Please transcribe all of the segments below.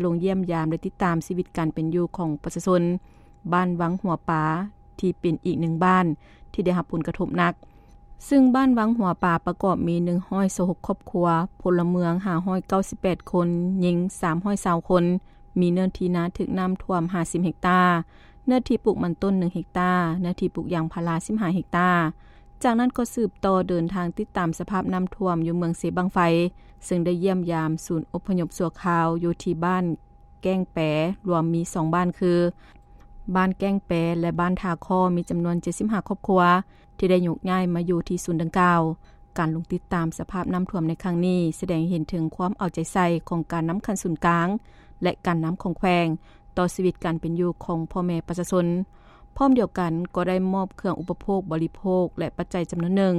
ລົງຢ້ຽມຢາມ ແລະ ຕິດຕາມຊີວິດການເປັນຢູ່ຂອງປະຊາຊົນບ້ານວັງຫົວປາ ທີ່ເປັນອີກໜຶ່ງບ້ານທີ່ໄດ້ຮັບຜົນກະທົບໜັກ. ຊຶ່ງບ້ານວັງຫົວປາປະກອບມີໜຶ່ງຮ້ອຍຊາວຫົກຄອບຄົວ, ພົນລະເມືອງຫ້າຮ້ອຍເກົ້າສິບແປດຄົນ, ຍິງສາມຮ້ອຍຊາວຄົນ, ມີເນື້ອທີ່ນາຖືກນ້ຳຖ້ວມຫ້າສິບເຮັກຕາ, ເນື້ອທີ່ປູກມັນຕົ້ນໜຶ່ງເຮັກຕາ, ເນື້ອທີ່ປູກຢາງພາລາສິບຫ້າເຮັກຕາ. ຈາກນັ້ນກໍສືບຕໍ່ເດີນທາງຕິດຕາມສະພາບນ້ຳຖ້ວມຢູ່ເມືອງເຊບັ້ງໄຟ, ເຊິ່ງໄດ້ຢ້ຽມຢາມສູນອົບພະຍົບຊົ່ວຄາວຢູ່ທີ່ບ້ານແກ້ງແປ, ລວມມີສອງບ້ານຄື ບ້ານແກ້ງແປ ແລະ ບ້ານທ່າຄໍ້ ມີຈຳນວນເຈັດສິບຫ້າຄອບຄົວ ທີ່ໄດ້ໂຍກຍ້າຍມາຢູ່ທີ່ສູນດັ່ງກ່າວ. ການລົງຕິດຕາມສະພາບນ້ຳຖ້ວມໃນຄັ້ງນີ້ ສະແດງໃຫ້ເຫັນເຖິງຄວາມເອົາໃຈໃສ່ຂອງການນຳຂັ້ນສູນກາງ ແລະ ການນຳຂອງແຂວງ ຕໍ່ຊີວິດການເປັນຢູ່ຂອງພໍ່ແມ່ປະຊາຊົນ. ພ້ອມດຽວກັນກໍໄດ້ມອບເຄື່ອງອຸປະໂພກບໍລິໂພກ ແລະ ປັດໄຈຈຳນວນໜຶ່ງ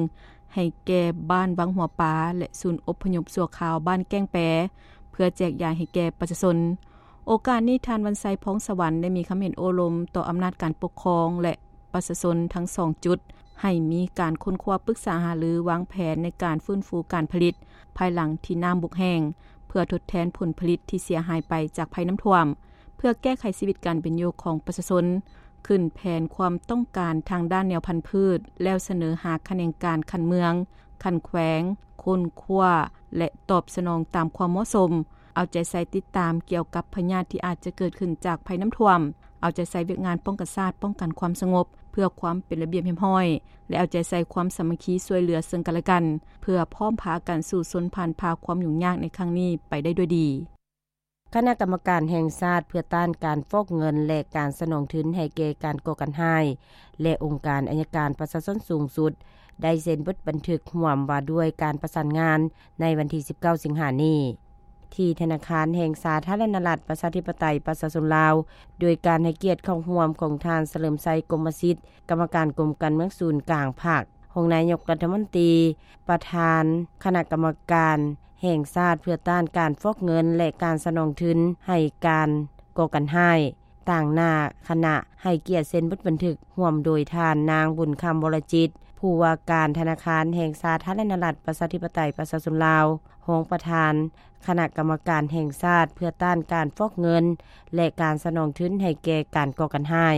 ໃຫ້ແກ່ບ້ານວັງຫົວປາ ແລະ ສູນອົບພະຍົບຊົ່ວຄາວບ້ານແກ້ງແປ ເພື່ອແຈກຢາຍໃຫ້ແກ່ປະຊາຊົນ. ໂອກາດນີ້ ທ່ານ ວັນໄຊ ພອງສະຫວັນ ໄດ້ມີຄຳເຫັນໂອ້ລົມຕໍ່ອຳນາດການປົກຄອງ ແລະ ປະຊາຊົນທັງສອງຈຸດ ໃຫ້ມີການຄົ້ນຄວ້າປຶກສາຫາລືວາງແຜນໃນການຟື້ນຟູການຜະລິດ ພາຍຫຼັງທີ່ນ້ຳບົກແຫ້ງ ເພື່ອທົດແທນຜົນຜະລິດທີ່ເສຍຫາຍໄປຈາກໄພນ້ຳຖ້ວມ, ເພື່ອແກ້ໄຂຊີວິດການເປັນຢູ່ຂອງປະຊາຊົນ, ຂຶ້ນແຜນຄວາມຕ້ອງການທາງດ້ານແນວພັນພືດ ແລ້ວສະເໜີຫາຂະແໜງການຂັ້ນເມືອງ, ຂັ້ນແຂວງ, ຄົ້ນຄວ້າ ແລະ ຕອບສະໜອງຕາມຄວາມເໝາະສົມ, ເອົາໃຈໃສ່ຕິດຕາມກ່ຽວກັບພະຍາດທີ່ອາດຈະເກີດຂຶ້ນຈາກໄພນ້ຳຖ້ວມ, ເອົາໃຈໃສ່ວຽກງານປ້ອງກັນຊາດ, ປ້ອງກັນຄວາມສະຫງົບ ເພື່ອຄວາມເປັນລະບຽບຮຽບຮ້ອຍ ແລະ ເອົາໃຈໃສ່ຄວາມສາມັກຄີຊ່ວຍເຫຼືອເຊິ່ງກັນແລະກັນ ເພື່ອພ້ອມພາກັນສູ້ຊົນຜ່ານຜ່າຄວາມຫຍຸ້ງຍາກໃນຄັ້ງນີ້ໄປໄດ້ດ້ວຍດີ. ຄະນະກຳມະການແຫ່ງຊາດເພື່ອຕ້ານການຟອກເງິນ ແລະ ການສະໜອງທຶນໃຫ້ແກ່ການກໍ່ການຮ້າຍ ແລະ ອົງການໄອຍະການປະຊາຊົນສູງສຸດ ໄດ້ເຊັນບົດບັນທຶກຮ່ວມວ່າດ້ວຍການປະສານງານໃນວັນທີສິບເກົ້າສິງຫານີ້ ທີ່ທະນາຄານແຫ່ງສາທາລະນະລັດ ປະຊາທິປະໄຕ ປະຊາຊົນລາວ ໂດຍການໃຫ້ກຽດເຂົ້າຮ່ວມຂອງທ່ານ ສະເຫຼີມໄຊ ກົມມະສິດ ກຳມະການກົມການເມືອງສູນກາງພັກ, ຮອງນາຍົກລັດຖະມົນຕີ, ປະທານຄະນະກຳມະການແຫ່ງຊາດເພື່ອຕ້ານການຟອກເງິນ ແລະ ການສະໜອງທຶນໃຫ້ການກໍ່ການຮ້າຍ, ຕາງໜ້າຄະນະໃຫ້ກຽດເຊັນບົດບັນທຶກ ຮ່ວມໂດຍທ່ານ ນາງ ບຸນຄຳ ວໍລະຈິດ ຜູ້ວ່າການທະນາຄານແຫ່ງສາທາລະນະລັດ ປະຊາທິປະໄຕ ປະຊາຊົນລາວ, ຮອງປະທານຄະນະກຳມະການແຫ່ງຊາດເພື່ອຕ້ານການຟອກເງິນ ແລະ ການສະໜອງທຶນໃຫ້ແກ່ການກໍ່ການຮ້າຍ,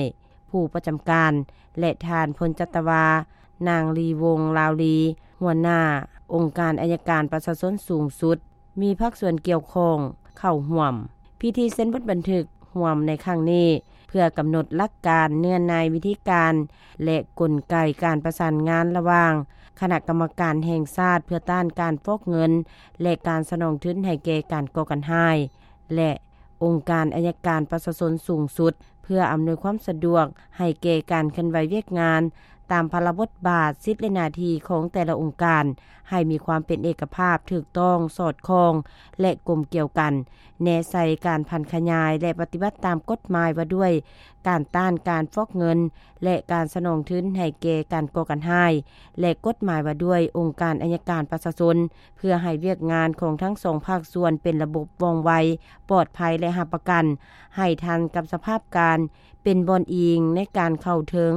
ຜູ້ປະຈຳການ ແລະ ທ່ານ ພົນຈັດຕະວາ ນາງ ລີວົງ ລາວລີ, ຫົວໜ້າອົງການໄອຍະການປະຊາຊົນສູງສຸດ, ມີພາກສ່ວນກ່ຽວຂ້ອງເຂົ້າຮ່ວມ. ພິທີເຊັນບົດບັນທຶກຮ່ວມໃນຄັ້ງນີ້ ເພື່ອກຳນົດຫຼັກການ, ເນື້ອໃນ, ວິທີການ ແລະ ກົນໄກການປະສານງານລະຫວ່າງຄະນະກຳມະການແຫ່ງຊາດເພື່ອຕ້ານການຟອກເງິນ ແລະ ການສະໜອງທຶນໃຫ້ແກ່ການກໍ່ການຮ້າຍ ແລະ ອົງການໄອຍະການປະຊາຊົນສູງສຸດ ເພື່ອອຳນວຍຄວາມສະດວກໃຫ້ແກ່ການເຄື່ອນໄຫວວຽກງານຕາມພາລະບົດບາດ, ສິດ ແລະ ໜ້າທີ່ຂອງແຕ່ລະອົງການ ໃຫ້ມີຄວາມເປັນເອກະພາບ, ຖືກຕ້ອງ, ສອດຄ່ອງ ແລະ ກົມກຽວກັນ, ແນໃສ່ການຜັນຂະຫຍາຍ ແລະ ປະຕິບັດຕາມກົດໝາຍວ່າດ້ວຍການຕ້ານການຟອກເງິນ ແລະ ການສະໜອງທຶນໃຫ້ແກ່ການກໍ່ການຮ້າຍ ແລະ ກົດໝາຍວ່າດ້ວຍອົງການໄອຍະການປະຊາຊົນ ເພື່ອໃຫ້ວຽກງານຂອງທັງສອງພາກສ່ວນເປັນລະບົບວ່ອງໄວ, ປອດໄພ ແລະ ຮັບປະກັນໃຫ້ທັນກັບສະພາບການ, ເປັນບ່ອນອີງໃນການເຂົ້າເຖິງ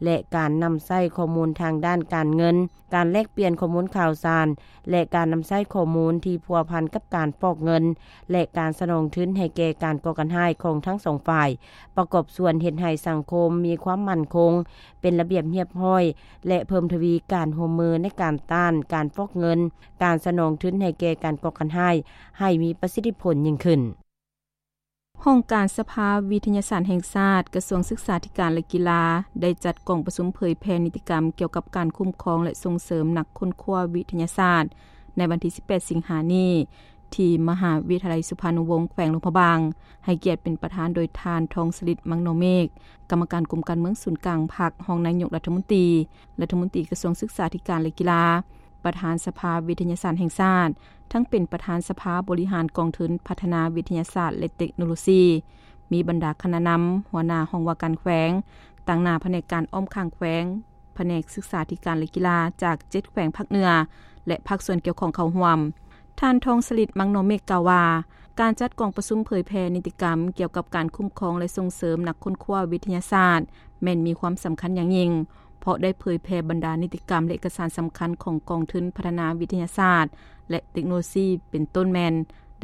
ແລະ ການນຳໃຊ້ຂໍ້ມູນທາງດ້ານການເງິນ, ການແລກປ່ຽນຂໍ້ມູນຂ່າວສານ ແລະ ການນຳໃຊ້ຂໍ້ມູນທີ່ພົວພັນກັບການຟອກເງິນ ແລະ ການສະໜອງທຶນໃຫ້ແກ່ການກໍ່ການຮ້າຍຂອງທັງສອງຝ່າຍ, ປະກອບສ່ວນເຮັດໃຫ້ສັງຄົມມີຄວາມໝັ້ນຄົງ, ເປັນລະບຽບຮຽບຮ້ອຍ ແລະ ເພີ່ມທະວີການຮ່ວມມືໃນການຕ້ານການຟອກເງິນ, ການສະໜອງທຶນໃຫ້ແກ່ການກໍ່ການຮ້າຍ ໃຫ້ມີປະສິດທິຜົນຍິ່ງຂຶ້ນ. ຫ້ອງການສະພາວິທະຍາສາດແຫ່ງຊາດ, ກະຊວງສຶກສາທິການ ແລະ ກິລາ ໄດ້ຈັດກອງປະຊຸມເຜີຍແຜ່ນິຕິກຳກ່ຽວກັບການຄຸ້ມຄອງ ແລະ ສົ່ງເສີມນັກຄົ້ນຄວ້າວິທະຍາສາດ ໃນວັນທີສິບແປດສິງຫານີ້ ທີ່ມະຫາວິທະຍາໄລສຸພານຸວົງ ແຂວງຫຼວງພະບາງ, ໃຫ້ກຽດເປັນປະທານໂດຍທ່ານ ທອງສະລິດ ມັງນໍເມກ, ກຳມະການກົມການເມືອງສູນກາງພັກ, ຮອງນາຍົກລັດຖະມົນຕີ, ລັດຖະມົນຕີກະຊວງສຶກສາທິການ ແລະ ກິລາ, ປະທານສະພາວິທະຍາສາດແຫ່ງຊາດ, ທັງເປັນປະທານສະພາບໍລິຫານກອງທຶນພັດທະນາວິທະຍາສາດ ແລະ ເຕັກໂນໂລຊີ, ມີບັນດາຄະນະນຳ, ຫົວໜ້າຫ້ອງວ່າການແຂວງ, ຕາງໜ້າພະແນກການອ້ອມຂ້າງແຂວງ, ພະແນກສຶກສາທິການ ແລະ ກິລາ ຈາກເຈັດແຂວງພາກເໜືອ ແລະ ພາກສ່ວນກ່ຽວຂ້ອງເຂົ້າຮ່ວມ. ທ່ານ ທອງສະລິດ ມັງນໍເມກ ກ່າວວ່າ, ການຈັດກອງປະຊຸມເຜີຍແຜ່ນິຕິກຳກ່ຽວກັບການຄຸ້ມຄອງ ແລະ ສົ່ງເສີມນັກຄົ້ນຄວ້າວິທະຍາສາດ ແມ່ນມີຄວາມສຳຄັນຢ່າງຍິ່ງ, ເພາະໄດ້ເຜີຍແຜ່ບັນດານິຕິກຳ ແລະ ເອກະສານສຳຄັນຂອງກອງທຶນພັດທະນາວິທະຍາສາດ ແລະ ເຕັກໂນໂລຊີ ເປັນຕົ້ນແມ່ນ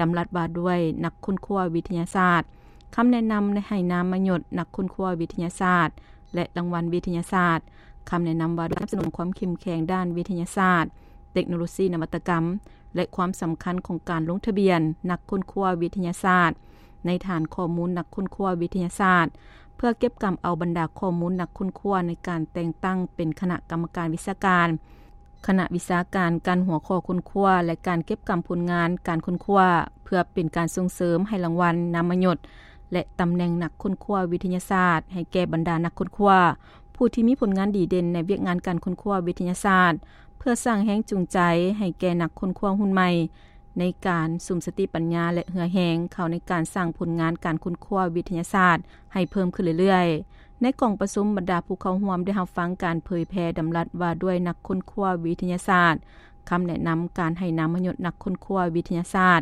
ດຳລັດວ່າດ້ວຍນັກຄົ້ນຄວ້າວິທະຍາສາດ, ຄຳແນະນຳໃຫ້ນາມມະຍົດນັກຄົ້ນຄວ້າວິທະຍາສາດ ແລະ ລາງວັນວິທະຍາສາດ, ຄຳແນະນຳວ່າດ້ວຍການສະໜັບສະໜູນຄວາມເຂັ້ມແຂງດ້ານວິທະຍາສາດ, ເຕັກໂນໂລຊີ, ນະວັດຕະກຳ ແລະ ຄວາມສຳຄັນຂອງການລົງທະບຽນນັກຄົ້ນຄວ້າວິທະຍາສາດ ໃນຖານຂໍ້ມູນນັກຄົ້ນຄວ້າວິທະຍາສາດ ເພື່ອເກັບກຳເອົາບັນດາຂໍ້ມູນນັກຄົ້ນຄວ້າໃນການແຕ່ງຕັ້ງເປັນຄະນະກຳມະການວິຊາການ, ຄະນະວິຊາການ, ການຫົວຂໍ້ຄົ້ນຄວ້າ ແລະ ການເກັບກຳຜົນງານການຄົ້ນຄວ້າ ເພື່ອເປັນການສົ່ງເສີມໃຫ້ລາງວັນ, ນາມມະຍົດ ແລະ ຕຳແໜ່ງນັກຄົ້ນຄວ້າວິທະຍາສາດ ໃຫ້ແກ່ບັນດານັກຄົ້ນຄວ້າ ຜູ້ທີ່ມີຜົນງານດີເດັ່ນໃນວຽກງານການຄົ້ນຄວ້າວິທະຍາສາດ, ເພື່ອສ້າງແຮງຈູງໃຈໃຫ້ແກ່ນັກຄົ້ນຄວ້າຮຸ່ນໃໝ່ ໃນການສຸມສະຕິປັນຍາ ແລະ ເຫື່ອແຮງເຂົ້າໃນການສ້າງຜົນງານການຄົ້ນຄວ້າວິທະຍາສາດໃຫ້ເພີ່ມຂຶ້ນເລື້ອຍໆ. ໃນກອງປະຊຸມ, ບັນດາຜູ້ເຂົ້າຮ່ວມໄດ້ຮັບຟັງການເຜີຍແຜ່ດຳລັດວ່າດ້ວຍນັກຄົ້ນຄວ້າວິທະຍາສາດ, ຄຳແນະນຳການໃຫ້ນາມມະຍົດນັກຄົ້ນຄວ້າວິທະຍາສາດ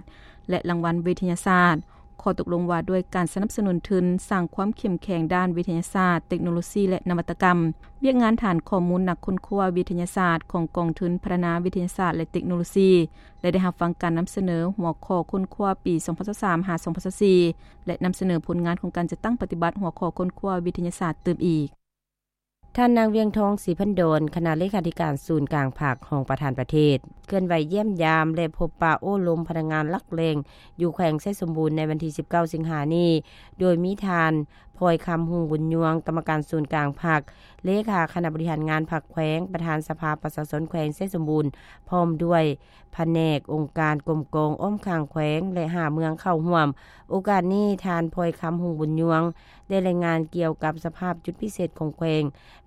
ແລະ ລາງວັນວິທະຍາສາດ, ຂໍ້ຕົກລົງວ່າດ້ວຍການສະໜັບສະໜູນທຶນສ້າງຄວາມເຂັ້ມແຂງດ້ານວິທະຍາສາດ, ເຕັກໂນໂລຊີ ແລະ ນະວັດຕະກຳ, ວຽກງານຖານຂໍ້ມູນນັກຄົ້ນຄວ້າວິທະຍາສາດຂອງກອງທຶນພັດທະນາວິທະຍາສາດ ແລະ ເຕັກໂນໂລຊີ ແລະ ໄດ້ຮັບຟັງການນຳສະເໜີຫົວຂໍ້ຄົ້ນຄວ້າປີສອງພັນຊາວສາມ ຫາ ສອງພັນຊາວສີ່ ແລະ ນຳສະເໜີຜົນງານຂອງການຈັດຕັ້ງປະຕິບັດຫົວຂໍ້ຄົ້ນຄວ້າວິທະຍາສາດຕື່ມອີກ. ທ່ານນາງ ວຽງທອງ ສີພັນດອນ ຄະນະເລຂາທິການສູນກາງພັກ ຮອງປະທານປະເທດ ເຄື່ອນໄຫວຢ້ຽມຢາມ ແລະ ພົບປະໂອ້ລົມພະນັກງານຫຼັກແຫຼ່ງ ຢູ່ແຂວງໄຊສົມບູນ ໃນວັນທີສິບເກົ້າ ສິງຫານີ້ ໂດຍມີທ່ານ ພອຍຄຳ ຮຸ່ງບຸນຍວງ ກຳມະການສູນກາງພັກ, ເລຂາຄະນະບໍລິຫານງານພັກແຂວງ, ປະທານສະພາປະຊາຊົນແຂວງໄຊສົມບູນ ພ້ອມດ້ວຍພະແນກ, ອົງການ, ກົມກອງ, ອ້ອມຂ້າງແຂວງ ແລະ ຫ້າເມືອງເຂົ້າຮ່ວມ. ໂອກາດນີ້, ທ່ານ ພອຍຄຳ ຮຸ່ງບຸນຍວງ ໄດ້ລາຍງານກ່ຽວກັບສະພາບຈຸດພິເສດຂອງແຂວງ,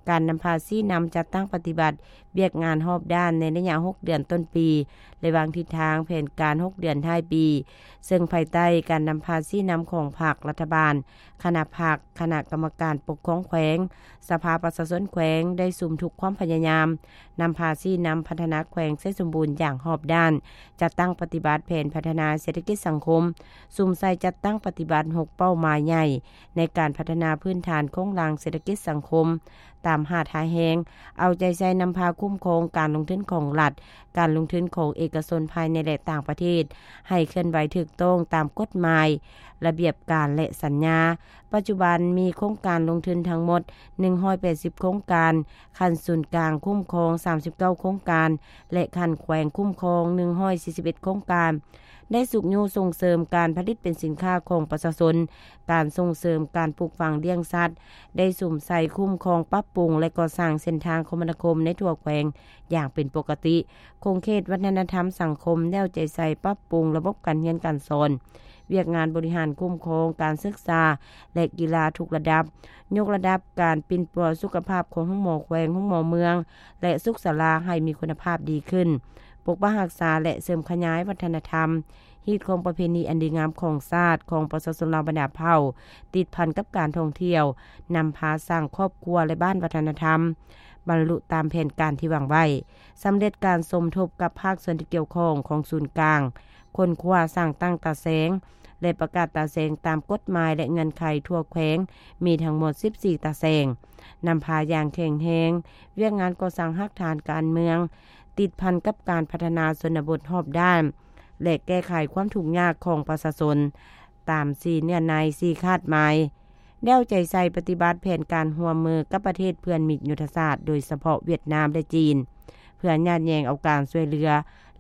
ການນຳພາຊີ້ນຳຈັດຕັ້ງປະຕິບັດວຽກງານຮອບດ້ານໃນໄລຍະຫົກເດືອນຕົ້ນປີ ແລະ ວາງທິດທາງແຜນການຫົກເດືອນທ້າຍປີ, ເຊິ່ງພາຍໃຕ້ການນຳພາຊີ້ນຳຂອງພັກ, ລັດຖະບານ, ຄະນະພັກ, ຄະນະກຳມະການປົກຄອງແຂວງ, ສະພາປະຊາຊົນແຂວງ ໄດ້ສຸມທຸກຄວາມພະຍາຍາມ ນຳພາຊີ້ນຳພັດທະນາແຂວງໄຊສົມບູນຢ່າງຮອບດ້ານ, ຈັດຕັ້ງປະຕິບັດແຜນພັດທະນາເສດຖະກິດສັງຄົມ, ສຸມໃສ່ຈັດຕັ້ງປະຕິບັດຫົກເປົ້າໝາຍໃຫຍ່ໃນການພັດທະນາພື້ນຖານໂຄງລ່າງເສດຖະກິດສັງຄົມ ຕາມຫ້າທ່າແຮງ, ເອົາໃຈໃສ່ນຳພາຄຸ້ມຄອງການລົງທຶນຂອງລັດ, ການລົງທຶນຂອງເອກະຊົນພາຍໃນ ແລະ ຕ່າງປະເທດ ໃຫ້ເຄື່ອນໄຫວຖືກຕ້ອງຕາມກົດໝາຍ, ລະບຽບການ ແລະ ສັນຍາ. ປັດຈຸບັນມີໂຄງການລົງທຶນທັງໝົດໜຶ່ງຮ້ອຍແປດສິບໂຄງການ, ຂັ້ນສູນກາງຄຸ້ມຄອງສາມສິບເກົ້າໂຄງການ ແລະ ຂັ້ນແຂວງຄຸ້ມຄອງໜຶ່ງຮ້ອຍສີ່ສິບເອັດໂຄງການ, ໄດ້ຊຸກຍູ້ສົ່ງເສີມການຜະລິດເປັນສິນຄ້າຂອງປະຊາຊົນ, ການສົ່ງເສີມການປູກຝັງລ້ຽງສັດ, ໄດ້ສຸມໃສ່ຄຸ້ມຄອງ, ປັບປຸງ ແລະ ກໍ່ສ້າງເສັ້ນທາງຄົມມະນາຄົມໃນທົ່ວແຂວງຢ່າງເປັນປົກກະຕິ. ຂົງເຂດວັດທະນະທຳສັງຄົມ ໄດ້ເອົາໃຈໃສ່ປັບປຸງລະບົບການຮຽນການສອນ, ວຽກງານບໍລິຫານຄຸ້ມຄອງການສຶກສາ ແລະ ກິລາທຸກລະດັບ, ຍົກລະດັບການປິ່ນປົວສຸຂະພາບຂອງໂຮງໝໍແຂວງ, ໂຮງໝໍເມືອງ ແລະ ສຸກສາລາໃຫ້ມີຄຸນນະພາບດີຂຶ້ນ, ປົກປັກຮັກສາ ແລະ ເສີມຂະຫຍາຍວັດທະນະທຳ, ຮີດຄອງປະເພນີອັນດີງາມຂອງຊາດ, ຂອງປະຊາຊົນລາວບັນດາເຜົ່າ, ຕິດພັນກັບການທ່ອງທ່ຽວ, ນຳພາສ້າງຄອບຄົວ ແລະ ບ້ານວັດທະນະທຳ, ບັນລຸຕາມແຜນການທີ່ວາງໄວ້, ສຳເລັດການສົມທົບກັບພາກສ່ວນທີ່ກ່ຽວຂ້ອງຂອງສູນກາງ, ຄົ້ນຄວ້າສ້າງຕັ້ງຕາແສງ ແລະ ປະກາດຕາແສງຕາມກົດໝາຍ ແລະ ເງື່ອນໄຂທົ່ວແຂວງ ມີທັງໝົດສິບສີ່ຕາແສງ, ນຳພາຢ່າງແຂງແຮງວຽກງານກໍ່ສ້າງຮາກຖານການເມືອງ ຕິດພັນກັບການພັດທະນາຊົນນະບົດຮອບດ້ານ ແລະ ແກ້ໄຂຄວາມທຸກຍາກຂອງປະຊາຊົນ ຕາມສີ່ເນື້ອໃນ ສີ່ຄາດໝາຍ. ແລ້ວໃຈໃສ່ປະຕິບັດແຜນການຮ່ວມມືກັບປະເທດເພື່ອນມິດຍຸດທະສາດ, ໂດຍສະເພາະຫວຽດນາມ ແລະ ຈີນ, ເພື່ອຍາດແຍ່ງເອົາການຊ່ວຍເຫຼືອ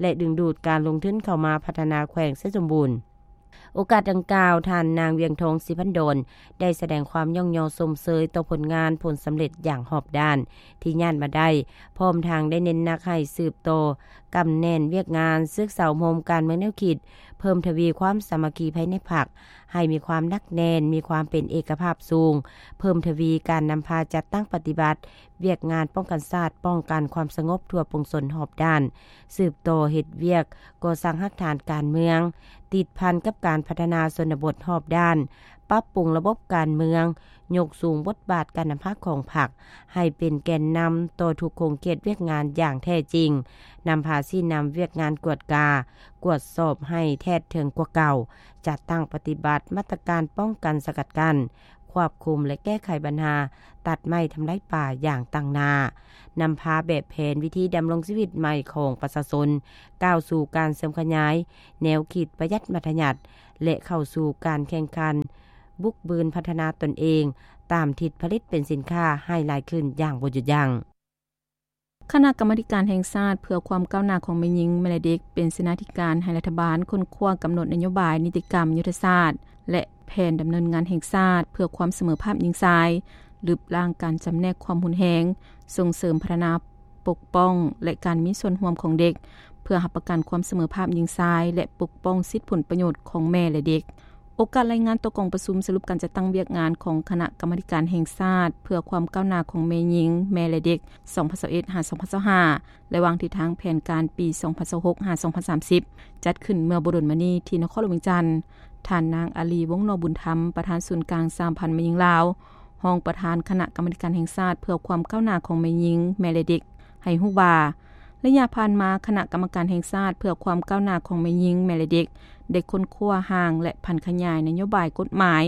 ແລະ ດຶງດູດການລົງທຶນເຂົ້າມາພັດທະນາແຂວງໄຊສົມບູນ. ໂອກາດດັ່ງກ່າວ, ທ່ານນາງ ວຽງທອງ ສີພັນດອນ ໄດ້ສະແດງຄວາມຍ້ອງຍໍຊົມເຊີຍຕໍ່ຜົນງານຜົນສຳເລັດຢ່າງຮອບດ້ານທີ່ຍາດມາໄດ້, ພ້ອມທັງໄດ້ເນັ້ນໜັກໃຫ້ສືບຕໍ່ກຳແໜ້ນວຽກງານ, ສຶກສາອົບຮົມການເມືອງແນວຄິດ, ເພີ່ມທະວີຄວາມສາມັກຄີພາຍໃນພັກໃຫ້ມີຄວາມໜັກແໜ້ນ, ມີຄວາມເປັນເອກະພາບສູງ, ເພີ່ມທະວີການນຳພາຈັດຕັ້ງປະຕິບັດວຽກງານປ້ອງກັນຊາດ, ປ້ອງກັນຄວາມສະຫງົບທົ່ວປວງຊົນຮອບດ້ານ, ສືບຕໍ່ເຮັດວຽກກໍ່ສ້າງຮາກຖານການເມືອງ, ຕິດພັນກັບການພັດທະນາຊົນນະບົດຮອບດ້ານ, ປັບປຸງລະບົບການເມືອງ, ຍົກສູງບົດບາດການນຳພາຂອງພັກໃຫ້ເປັນແກນນຳຕໍ່ທຸກຂົງເຂດວຽກງານຢ່າງແທ້ຈິງ, ນຳພາຊີ້ນຳວຽກງານກວດກາ, ກວດສອບໃຫ້ແທດເຖິງກວ່າເກົ່າ, ຈັດຕັ້ງປະຕິບັດມາດຕະການປ້ອງກັນສະກັດກັ້ນຄ ຄວບຄຸມ ແລະ ແກ້ໄຂບັນຫາຕັດໄມ້ທຳລາຍປ່າຢ່າງຕັ້ງໜ້າ, ນຳພາແບບແຜນວິທີດຳລົງຊີວິດໃໝ່ຂອງປະຊາຊົນ ກ້າວສູ່ການເຊື່ອມຂະຫຍາຍແນວຄິດປະຢັດມັດທະຍັດ ແລະ ເຂົ້າສູ່ການແຂ່ງຂັນບຸກບືນພັດທະນາຕົນເອງ ຕາມທິດຜະລິດເປັນສິນຄ້າໃຫ້ຫຼາຍຂຶ້ນຢ່າງບໍ່ຢຸດຢັ້ງ. ຄະນະກຳມາທິການແຫ່ງຊາດເພື່ອຄວາມກ້າວໜ້າຂອງແມ່ຍິງ ແມ່ ແລະ ເດັກ ເປັນເສນາທິການໃຫ້ລັດຖະບານຄົ້ນຄວ້າກຳນົດນະໂຍບາຍ, ນິຕິກຳ, ຍຸດທະສາດ ແລະ ແຜນດຳເນີນງານແຫ່ງຊາດເພື່ອຄວາມສະເໝີພາບຍິງຊາຍ, ລຶບລ້າງການຈຳແນກຄວາມຮຸນແຮງ, ສົ່ງເສີມພັດທະນາ, ປົກປ້ອງ ແລະ ການມີສ່ວນຮ່ວມຂອງເດັກ ເພື່ອຮັບປະກັນຄວາມສະເໝີພາບຍິງຊາຍ ແລະ ປົກປ້ອງສິດຜົນປະໂຫຍດຂອງແມ່ ແລະ ເດັກ. ໂອກາດລາຍງານຕໍ່ກອງປະຊຸມສະຫຼຸບການຈັດຕັ້ງວຽກງານຂອງຄະນະກຳມາທິການແຫ່ງຊາດເພື່ອຄວາມກ້າວໜ້າຂອງແມ່ຍິງ ແມ່ ແລະ ເດັກ ສອງພັນຊາວເອັດ ຫາ ສອງພັນຊາວຫ້າ ແລະ ວາງທິດທາງແຜນການປີ ສອງພັນຊາວຫົກ ຫາ ສອງພັນສາມສິບ ຈັດຂຶ້ນເມື່ອບໍ່ດົນມານີ້ທີ່ນະຄອນຫຼວງວຽງຈັນ. ທ່ານນາງ ອາລີ ວົງນໍບຸນທຳ ປະທານສູນກາງສະຫະພັນແມ່ຍິງລາວ, ຮອງປະທານຄະນະກຳມາທິການແຫ່ງຊາດເພື່ອຄວາມກ້າວໜ້າຂອງແມ່ຍິງ ແມ່ ແລະ ເດັກ ໃຫ້ຮູ້ວ່າ ໄລຍະຜ່ານມາ ຄະນະກຳມະການແຫ່ງຊາດເພື່ອຄວາມກ້າວໜ້າຂອງແມ່ຍິງ ແມ່ ແລະ ເດັກ ໄດ້ຄົ້ນຄວ້າຮ່າງ ແລະ ຜັນຂະຫຍາຍນະໂຍບາຍ, ກົດໝາຍ,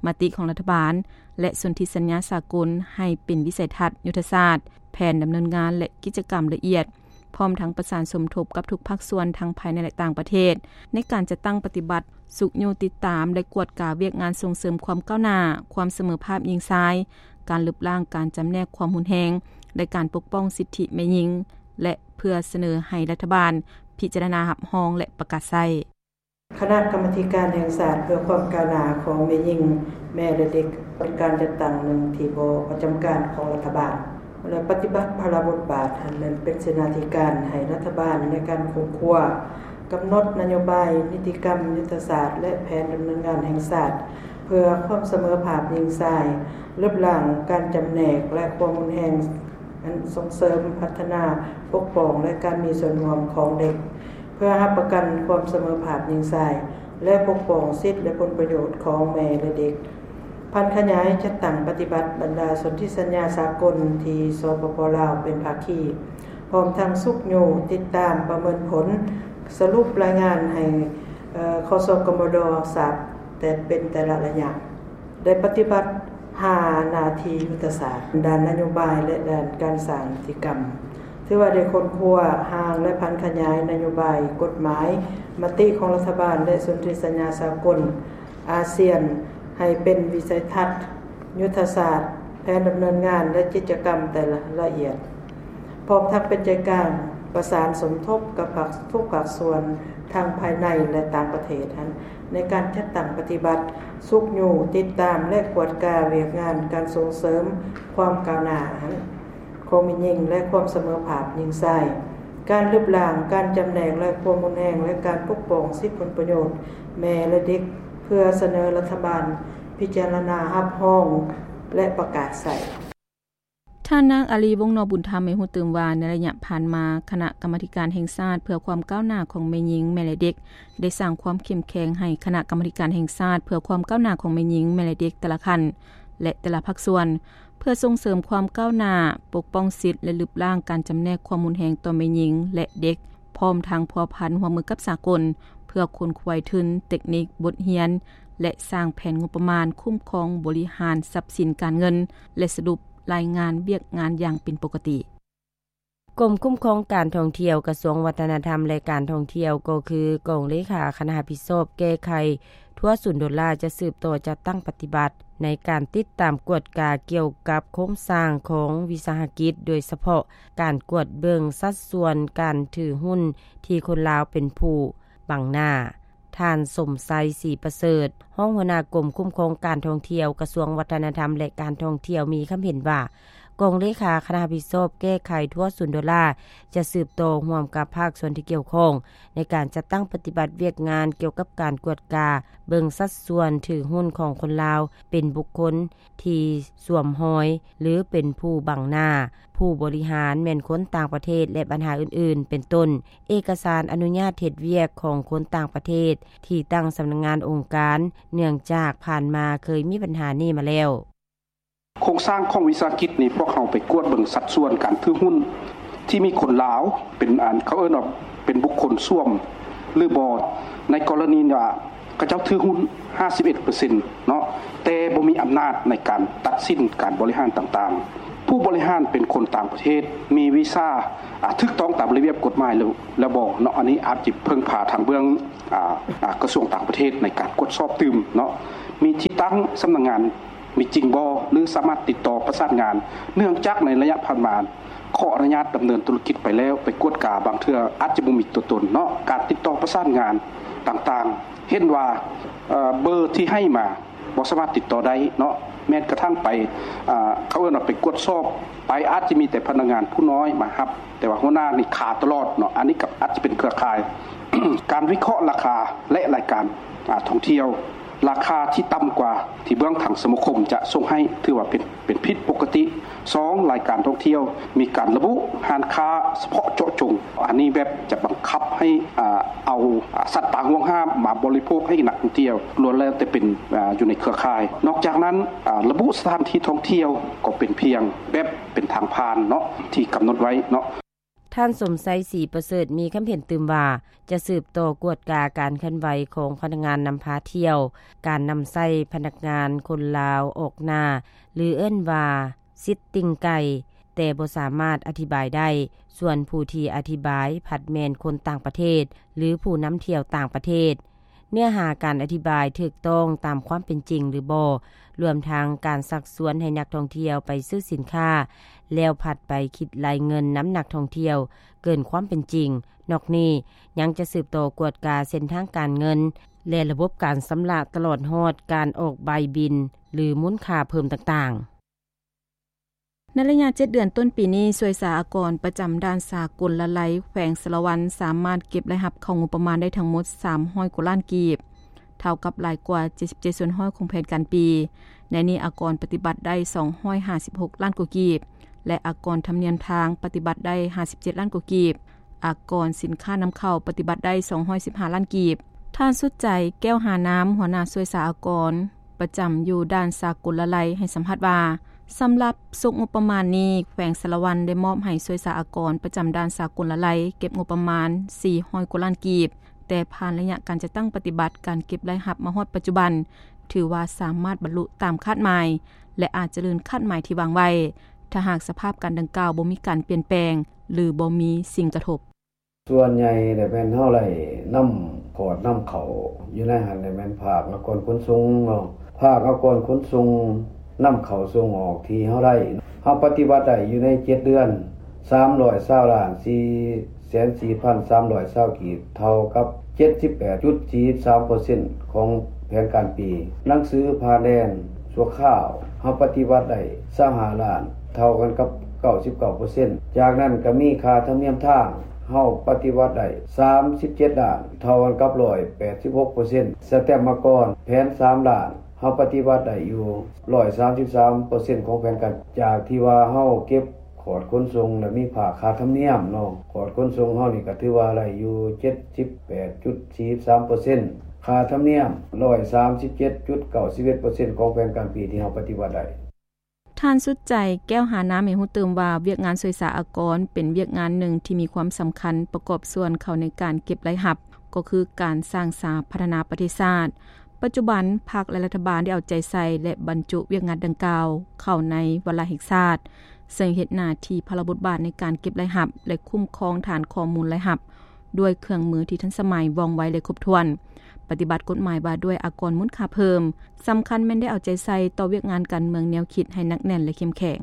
ມະຕິຂອງລັດຖະບານ ແລະ ສົນທິສັນຍາສາກົນໃຫ້ເປັນວິໄສທັດ, ຍຸດທະສາດ, ແຜນດຳເນີນງານ ແລະ ກິດຈະກຳລະອຽດ, ພ້ອມທັງປະສານສົມທົບກັບທຸກພາກສ່ວນທັງພາຍໃນ ແລະ ຕ່າງປະເທດ ໃນການຈັດຕັ້ງປະຕິບັດ, ຊຸກຍູ້ຕິດຕາມ ແລະ ກວດກາວຽກງານສົ່ງເສີມຄວາມກ້າວໜ້າ, ຄວາມສະເໝີພາບຍິງຊາຍ, ການລຶບລ້າງການຈຳແນກຄວາມຮຸນແຮງ ແລະ ການປົກປ້ອງສິດທິແມ່ຍິງ ແລະ ເພື່ອສະເໜີໃຫ້ລັດຖະບານພິຈາລະນາຮັບຮອງ ແລະ ປະກາດໃຊ້. ຄະນະກຳມາທິການແຫ່ງຊາດເພື່ອຄວາມກ້າວໜ້າຂອງແມ່ຍິງ, ແມ່ ແລະ ເດັກ ເປັນການຈັດຕັ້ງໜຶ່ງທີ່ບໍ່ປະຈຳການຂອງລັດຖະບານ ແລະ ປະຕິບັດພາລະບົດບາດ ແລະ ເປັນເສນາທິການໃຫ້ລັດຖະບານໃນການຄົ້ນຄວ້າ, ກຳນົດນະໂຍບາຍ, ນິຕິກຳ, ຍຸດທະສາດ ແລະ ແຜນດຳເນີນງານແຫ່ງຊາດ ເພື່ອຄວາມສະເໝີພາບຍິງຊາຍ, ລຶບລ້າງການຈຳແນກ ແລະ ຄວາມຮຸນແຮງ, ສົ່ງເສີມ, ພັດທະນາ, ປົກປ້ອງ ແລະ ການມີສ່ວນຮ່ວມຂອງເດັກ ເພື່ອຮັບປະກັນຄວາມສະເໝີພາບຍິງຊາຍ ແລະ ປົກປ້ອງສິດ ແລະ ຜົນປະໂຫຍດຂອງແມ່ ແລະ ເດັກ. ຜັນຂະຫຍາຍຈັດຕັ້ງປະຕິບັດບັນດາສົນທິສັນຍາສາກົນທີ່ ສປປ ລາວ ເປັນພາຄີ, ພ້ອມທັງຊຸກຍູ້ຕິດຕາມປະເມີນຜົນ, ສະຫຼຸບລາຍງານໃຫ້ ເອີ ຄສກມດ ຊາບແຕ່ເປັນແຕ່ລະໄລຍະ. ໄດ້ປະຕິບັດຫ້າໜ້າທີ່ຍຸດທະສາດ ດ້ານນະໂຍບາຍ ແລະ ດ້ານການສ້າງນິຕິກຳ, ຖືວ່າໄດ້ຄົ້ນຄວ້າຮ່າງ ແລະ ຜັນຂະຫຍາຍນະໂຍບາຍ, ກົດໝາຍ, ມະຕິຂອງລັດຖະບານ ແລະ ສົນທິສັນຍາສາກົນ, ອາຊຽນ ໃຫ້ເປັນວິໄສທັດ, ຍຸດທະສາດ, ແຜນດຳເນີນງານ ແລະ ກິດຈະກຳແຕ່ລະລະອຽດ, ພ້ອມທັງເປັນໃຈກາງປະສານສົມທົບກັບພາກ ທຸກພາກສ່ວນທັງພາຍໃນ ແລະ ຕ່າງປະເທດຫັ້ນ ໃນການຈັດຕັ້ງປະຕິບັດ, ຊຸກຍູ້, ຕິດຕາມ ແລະ ກວດກາວຽກງານການສົ່ງເສີມຄວາມກ້າວໜ້າຫັ້ນ ຂອງແມ່ຍິງ ແລະ ຄວາມສະເໝີພາບຍິງຊາຍ, ການລຶບລ້າງການຈຳແນກ ແລະ ຄວາມຮຸນແຮງ ແລະ ການປົກປ້ອງສິດຜົນປະໂຫຍດແມ່ ແລະ ເດັກ ເພື່ອສະເໜີລັດຖະບານພິຈາລະນາຮັບຮອງ ແລະ ປະກາດໃຊ້. ທ່ານນາງ ອາລີ ວົງນໍບຸນທຳ ໃຫ້ຮູ້ຕື່ມວ່າ ໃນໄລຍະຜ່ານມາ ຄະນະກຳມາທິການແຫ່ງຊາດເພື່ອຄວາມກ້າວໜ້າຂອງແມ່ຍິງ, ແມ່ ແລະ ເດັກ ໄດ້ສ້າງຄວາມເຂັ້ມແຂງໃຫ້ຄະນະກຳມາທິການແຫ່ງຊາດເພື່ອຄວາມກ້າວໜ້າຂອງແມ່ຍິງ, ແມ່ ແລະ ເດັກແຕ່ລະຂັ້ນ ແລະ ແຕ່ລະພາກສ່ວນ ເພື່ອສົ່ງເສີມຄວາມກ້າວໜ້າ, ປົກປ້ອງສິດ ແລະ ລຶບລ້າງການຈຳແນກຄວາມຮຸນແຮງຕໍ່ແມ່ຍິງ ແລະ ເດັກ, ພ້ອມທັງພົວພັນຮ່ວມມືກັບສາກົນ ເພື່ອຂົນຂວາຍທຶນ, ເຕັກນິກ, ບົດຮຽນ ແລະ ສ້າງແຜນງົບປະມານຄຸ້ມຄອງບໍລິຫານຊັບສິນການເງິນ ແລະ ສະຫຼຸບລາຍງານວຽກງານຢ່າງເປັນປົກກະຕິ. ກົມຄຸ້ມຄອງການທ່ອງທ່ຽວ ກະຊວງວັດທະນະທຳ ແລະ ການທ່ອງທ່ຽວ ກໍຄືກອງເລຂາຄະນະຮັບຜິດຊອບແກ້ໄຂທົ່ວສູນໂດລາ ຈະສືບຕໍ່ຈັດຕັ້ງປະຕິບັດໃນການຕິດຕາມກວດກາກ່ຽວກັບໂຄງສ້າງຂອງວິສາຫະກິດ, ໂດຍສະເພາະການກວດເບິ່ງສັດສ່ວນການຖືຫຸ້ນທີ່ຄົນລາວເປັນຜູ້ບັງໜ້າ. ທ່ານ ສົມໄຊ ສີປະເສີດ ຮອງຫົວໜ້າກົມຄຸ້ມຄອງການທ່ອງທ່ຽວ ກະຊວງວັດທະນະທຳ ແລະ ການທ່ອງທ່ຽວ ມີຄຳເຫັນວ່າ ກອງເລຂາຄະນະຮັບຜິດຊອບແກ້ໄຂທົ່ວສູນໂດລາ ຈະສືບຕໍ່ຮ່ວມກັບພາກສ່ວນທີ່ກ່ຽວຂ້ອງ ໃນການຈັດຕັ້ງປະຕິບັດວຽກງານກ່ຽວກັບການກວດກາເບິ່ງສັດສ່ວນຖືຫຸ້ນຂອງຄົນລາວ ເປັນບຸກຄົນທີ່ສວມຮອຍ ຫຼື ເປັນຜູ້ບັງໜ້າ, ຜູ້ບໍລິຫານແມ່ນຄົນຕ່າງປະເທດ ແລະ ບັນຫາອື່ນໆ ເປັນຕົ້ນ ເອກະສານອະນຸຍາດເຮັດວຽກຂອງຄົນຕ່າງປະເທດທີ່ຕັ້ງສຳນັກງານອົງການ ເນື່ອງຈາກຜ່ານມາເຄີຍມີບັນຫານີ້ມາແລ້ວ. ໂຄງສ້າງຂອງວິສາຫະກິດນີ້ ພວກເຮົາໄປກວດເບິ່ງສັດສ່ວນການຖືຫຸ້ນທີ່ມີຄົນລາວເປັນ ອັນ ເຂົາເອີ້ນວ່າເປັນບຸກຄົນສວມ ຫຼື ບໍ່. ໃນກໍລະນີວ່າເຂົາເຈົ້າຖືຫຸ້ນຫ້າສິບເອັດເປີເຊັນເນາະ ແຕ່ ບໍ່ມີອຳນາດໃນການຕັດສິນການບໍລິຫານຕ່າງໆ. ຜູ້ບໍລິຫານເປັນຄົນຕ່າງປະເທດ, ມີວີຊາ ອາ ຖືກຕ້ອງຕາມລະບຽບກົດໝາຍແລ້ວ ແລ້ວບໍ່ເນາະ? ອັນນີ້ອາດຈະເພິ່ງພາທາງເບື້ອງ ອາ ອາ ກະຊວງຕ່າງປະເທດໃນການກວດສອບຕື່ມເນາະ. ມີທີ່ຕັ້ງສຳນັກງານມີຈິງບໍ່ ຫຼື ສາມາດຕິດຕໍ່ປະສານງານ? ເນື່ອງຈາກໃນໄລຍະຜ່ານມາ ຂໍອະນຸຍາດດຳເນີນທຸລະກິດໄປແລ້ວ ໄປກວດກາບາງເທື່ອອາດຈະບໍ່ມີຕົວຕົນເນາະ. ການຕິດຕໍ່ປະສານງານຕ່າງໆ ເຫັນວ່າ ເອີ ເບີທີ່ໃຫ້ມາບໍ່ສາມາດຕິດຕໍ່ໄດ້ເນາະ. ແມ້ກະທັ່ງໄປ ເອີ ເຂົາເອີ້ນວ່າໄປກວດສອບ ໄປອາດຈະມີແຕ່ພະນັກງານຜູ້ນ້ອຍມາຮັບ ແຕ່ວ່າຫົວໜ້ານີ້ຄາຕະຫຼອດເນາະ. ອັນນີ້ກໍອາດຈະເປັນເຄືອຂ່າຍ ການວິເຄາະລາຄາ ແລະ ລາຍການ ອາ ທ່ອງທ່ຽວ ລາຄາທີ່ຕ່ຳກວ່າທີ່ເບື້ອງທາງສະມາຄົມຈະສົ່ງໃຫ້ ຖືວ່າເປັນ ເປັນຜິດປົກກະຕິ. ສອງ ລາຍການທ່ອງທ່ຽວມີການລະບຸຮ້ານຄ້າສະເພາະເຈາະຈົງ. ອັນນີ້ແບບຈະບັງຄັບໃຫ້ ອາ ເອົາ ອາ ສັດປ່າຫວງຫ້າມມາບໍລິໂພກໃຫ້ນັກທ່ອງທ່ຽວ ລ້ວນແລ້ວແຕ່ເປັນ ອາ ຢູ່ໃນເຄືອຂ່າຍ. ນອກຈາກນັ້ນ ອາ ລະບຸສະຖານທີ່ທ່ອງທ່ຽວກໍເປັນພຽງແບບເປັນທາງຜ່ານເນາະ ທີ່ກຳນົດໄວ້ເນາະ. ທ່ານ ສົມໄຊ ສີປະເສີດ ມີຄຳເຫັນຕື່ມວ່າ ຈະສືບຕໍ່ກວດກາການເຄື່ອນໄຫວຂອງພະນັກງານນຳພາທ່ຽວ, ການນຳໃຊ້ພະນັກງານຄົນລາວອອກໜ້າ ຫຼື ເອີ້ນວ່າ ຊິດຕິງໄກ່ ແຕ່ບໍ່ສາມາດອະທິບາຍໄດ້, ສ່ວນຜູ້ທີ່ອະທິບາຍພັດແມ່ນຄົນຕ່າງປະເທດ ຫຼື ຜູ້ນຳທ່ຽວຕ່າງປະເທດ. ເນື້ອຫາການອະທິບາຍຖືກຕ້ອງຕາມຄວາມເປັນຈິງຫຼືບໍ່, ລວມທັງການຊັກຊວນໃຫ້ນັກທ່ອງທ່ຽວໄປຊື້ສິນຄ້າ ແລ້ວພັດໄປຄິດໄລ່ເງິນນຳນັກທ່ອງທ່ຽວເກີນຄວາມເປັນຈິງ. ນອກນີ້ຍັງຈະສືບຕໍ່ກວດກາເສັ້ນທາງການເງິນ ແລະ ລະບົບການຊຳລະ ຕະຫຼອດຮອດການອອກໃບບິນ ຫຼື ມູນຄ່າເພີ່ມຕ່າງໆ. ໃນໄລຍະເຈັດເດືອນຕົ້ນປີນີ້, ສ່ວຍສາອາກອນປະຈຳດ່ານສາກົນລະໄລ ແຂວງສາລະວັນ ສາມາດເກັບລາຍຮັບເຂົ້າງົບປະມານໄດ້ທັງໝົດສາມຮ້ອຍກວ່າລ້ານກີບ, ເທົ່າກັບຫຼາຍກວ່າເຈັດສິບເຈັດສ່ວນຮ້ອຍຂອງແຜນການປີ. ໃນນີ້ອາກອນປະຕິບັດໄດ້ສອງຮ້ອຍຫ້າສິບຫົກລ້ານກວ່າກີບ ແລະ ອາກອນທຳນຽມທາງປະຕິບັດໄດ້ຫ້າສິບເຈັດລ້ານກວ່າກີບ, ອາກອນສິນຄ້ານຳເຂົ້າປະຕິບັດໄດ້ສອງຮ້ອຍສິບຫ້າລ້ານກີບ. ທ່ານ ສຸດໃຈ ແກ້ວຫານາມ ຫົວໜ້າສ່ວຍສາອາກອນ ປະຈຳຢູ່ດ່ານສາກົນລະໄລ ໃຫ້ສຳພາດວ່າ ສຳລັບສົກງົບປະມານນີ້ ແຂວງສາລະວັນໄດ້ມອບໃຫ້ສ່ວຍສາອາກອນປະຈຳດ່ານສາກົນລະໄລ ເກັບງົບປະມານສີ່ຮ້ອຍກວ່າລ້ານກີບ, ແຕ່ຜ່ານໄລຍະການຈັດຕັ້ງປະຕິບັດການເກັບລາຍຮັບມາຮອດປັດຈຸບັນ ຖືວ່າສາມາດບັນລຸຕາມຄາດໝາຍ ແລະ ອາດຈະເລີນຄາດໝາຍທີ່ວາງໄວ້ ຖ້າຫາກສະພາບການດັ່ງກ່າວບໍ່ມີການປ່ຽນແປງ ຫຼື ບໍ່ມີສິ່ງກະທົບ. ສ່ວນໃຫຍ່ແລ້ວແມ່ນເຮົາໄດ້ນຳຂອດນຳເຂົ້າຢູ່ໃນຫັ້ນແຫຼະ ແມ່ນພາກອາກອນຂົນສົ່ງເນາະ, ພາກອາກອນຂົນສົ່ງນຳເຂົ້າສົ່ງອອກທີ່ເຮົາໄດ້ ເຮົາປະຕິບັດໄດ້ຢູ່ໃນເຈັດເດືອນ ສາມຮ້ອຍຊາວລ້ານສີ່ແສນສີ່ພັນສາມຮ້ອຍຊາວກີບ ເທົ່າກັບເຈັດສິບແປດຈຸດສີ່ສາມເປີເຊັນຂອງແຜນການປີ. ໜັງສືຜ່ານແດນ ຊົ່ວຄາວ ເຮົາປະຕິບັດໄດ້ຊາວຫ້າລ້ານ ເທົ່າກັນກັບເກົ້າສິບເກົ້າເປີເຊັນ. ຈາກນັ້ນກໍມີຄ່າທຳນຽມທາງ ເຮົາປະຕິບັດໄດ້ສາມສິບເຈັດລ້ານ ເທົ່າກັນກັບຮ້ອຍແປດສິບຫົກເປີເຊັນ. ສະແຕັມອາກອນແຜນສາມລ້ານ ເຮົາປະຕິບັດໄດ້ຢູ່ຮ້ອຍສາມສິບສາມເປີເຊັນຂອງແຜນການ. ຈາກທີ່ວ່າເຮົາເກັບ ຂອດຂົນສົ່ງ ແລະ ມີພາກຄ່າທຳນຽມເນາະ, ຂອດຂົນສົ່ງເຮົານີ້ກໍຖືວ່າໄດ້ຢູ່ເຈັດສິບແປດຈຸດສີ່ສາມເປີເຊັນ, ຄ່າທຳນຽມຮ້ອຍສາມສິບເຈັດຈຸດເກົ້າສິບເອັດເປີເຊັນຂອງແຜນການປີທີ່ເຮົາປະຕິບັດໄດ້. ທ່ານ ສຸດໃຈ ແກ້ວຫານາມ ໃຫ້ຮູ້ຕື່ມວ່າ ວຽກງານສ່ວຍສາອາກອນເປັນວຽກງານໜຶ່ງທີ່ມີຄວາມສຳຄັນປະກອບສ່ວນເຂົ້າໃນການເກັບລາຍຮັບ ກໍຄືການສ້າງສາພັດທະນາປະເທດຊາດ. ປັດຈຸບັນ ພັກ ແລະ ລັດຖະບານໄດ້ເອົາໃຈໃສ່ ແລະ ບັນຈຸວຽກງານດັ່ງກ່າວເຂົ້າໃນວາລະແຫ່ງຊາດ, ເຊິ່ງເຮັດໜ້າທີ່ພາລະບົດບາດໃນການເກັບລາຍຮັບ ແລະ ຄຸ້ມຄອງຖານຂໍ້ມູນລາຍຮັບ ດ້ວຍເຄື່ອງມືທີ່ທັນສະໄໝ, ວ່ອງໄວ ແລະ ຄົບຖ້ວນ, ປະຕິບັດກົດໝາຍວ່າດ້ວຍອາກອນມູນຄ່າເພີ່ມ. ສຳຄັນແມ່ນໄດ້ເອົາໃຈໃສ່ຕໍ່ວຽກງານການເມືອງແນວຄິດໃຫ້ໜັກແໜ້ນ ແລະ ເຂັ້ມແຂງ.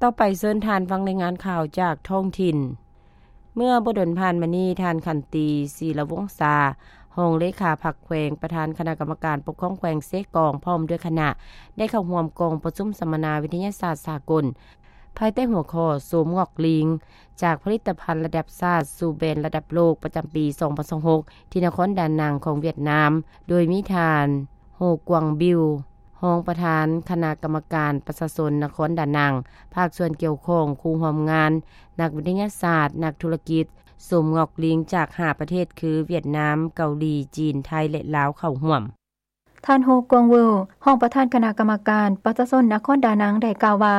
ຕໍ່ໄປເຊີນທ່ານຟັງລາຍງານຂ່າວຈາກທ້ອງຖິ່ນ. ເມື່ອບໍ່ດົນຜ່ານມານີ້, ທ່ານ ຂັນຕີ ສີລະວົງສາ, ຮອງເລຂາພັກແຂວງ, ປະທານຄະນະກຳມະການປົກຄອງແຂວງເຊກອງ ພ້ອມດ້ວຍຄະນະ ໄດ້ເຂົ້າຮ່ວມກອງປະຊຸມສຳມະນາວິທະຍາສາດສາກົນ ພາຍໃຕ້ຫົວຂໍ້ ໂສມງອກລີງ ຈາກຜະລິດຕະພັນລະດັບຊາດສູ່ແບຣນລະດັບໂລກ ປະຈຳປີສອງພັນຊາວຫົກ ທີ່ນະຄອນດານັງຂອງຫວຽດນາມ, ໂດຍມີທ່ານ ໂຮກວາງບິວ ຮອງປະທານຄະນະກຳມະການປະຊາຊົນນະຄອນດານັງ, ພາກສ່ວນກ່ຽວຂ້ອງ, ຄູ່ຮ່ວມງານ, ນັກວິທະຍາສາດ, ນັກທຸລະກິດ, ໂສມງອກລີງຈາກຫ້າປະເທດຄື ຫວຽດນາມ, ເກົາຫຼີ, ຈີນ, ໄທ ແລະ ລາວ ເຂົ້າຮ່ວມ. ທ່ານ ໂຮກວາງເວີວ ຮອງປະທານຄະນະກຳມະການປະຊາຊົນນະຄອນດານັງ ໄດ້ກ່າວວ່າ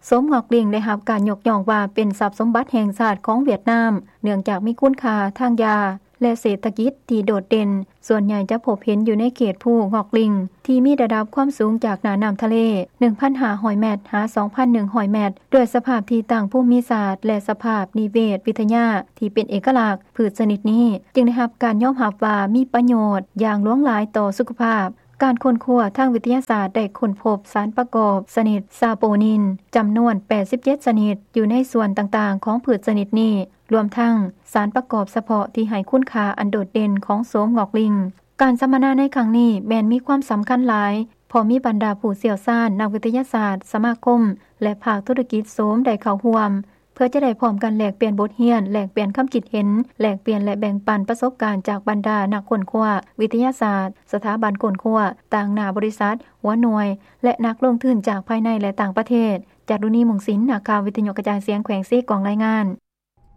ໂສມງອກລີງໄດ້ຮັບການຍົກຍ້ອງວ່າເປັນຊັບສົມບັດແຫ່ງຊາດຂອງຫວຽດນາມ, ເນື່ອງຈາກມີຄຸນຄ່າທາງຢາ ແລະເສດຖະກິດທີ່ໂດດເດັ່ນ, ສ່ວນໃຫຍ່ຈະພົບເຫັນຢູ່ໃນເຂດພູງອກລິງ ທີ່ມີລະດັບຄວາມສູງຈາກໜ້ານ້ຳທະເລ ໜຶ່ງພັນຫ້າຮ້ອຍແມັດ ຫາ ສອງພັນໜຶ່ງຮ້ອຍແມັດ ດ້ວຍສະພາບທີ່ຕັ້ງພູມມິສາດ ແລະສະພາບນິເວດວິທະຍາທີ່ເປັນເອກະລັກ, ພືດຊະນິດນີ້ຈຶ່ງໄດ້ຮັບການຍອມຮັບວ່າມີປະໂຫຍດຢ່າງຫຼວງຫຼາຍຕໍ່ສຸຂະພາບ. ການຄົ້ນຄວ້າທາງວິທະຍາສາດໄດ້ຄົ້ນພົບສານປະກອບຊະນິດຊາໂປນິນ ຈຳນວນແປດສິບເຈັດຊະນິດ ຢູ່ໃນສ່ວນຕ່າງໆຂອງພືດຊະນິດນີ້, ລວມທັງສານປະກອບສະເພາະທີ່ໃຫ້ຄຸນຄ່າອັນໂດດເດັ່ນຂອງໂສມງອກລິງ. ການສຳມະນາໃນຄັ້ງນີ້ແມ່ນມີຄວາມສຳຄັນຫຼາຍ, ເພາະມີບັນດາຜູ້ຊ່ຽວຊານ, ນັກວິທະຍາສາດ, ສະມາຄົມ ແລະ ພາກທຸລະກິດໂສມໄດ້ເຂົ້າຮ່ວມ, ເພື່ອຈະໄດ້ພ້ອມກັນແລກປ່ຽນບົດຮຽນ, ແລກປ່ຽນຄຳຄິດເຫັນ, ແລກປ່ຽນ ແລະ ແບ່ງປັນປະສົບການຈາກບັນດານັກຄົ້ນຄວ້າວິທະຍາສາດ, ສະຖາບັນຄົ້ນຄວ້າ, ຕາງໜ້າບໍລິສັດ, ຫົວໜ່ວຍ ແລະ ນັກລົງທຶນຈາກພາຍໃນ ແລະ ຕ່າງປະເທດ. ຈາລຸນີ ມຸງສິນ, ນັກຂ່າວວິທະຍຸກະຈາຍສຽງແຂວງເຊກອງ ລາຍງານ.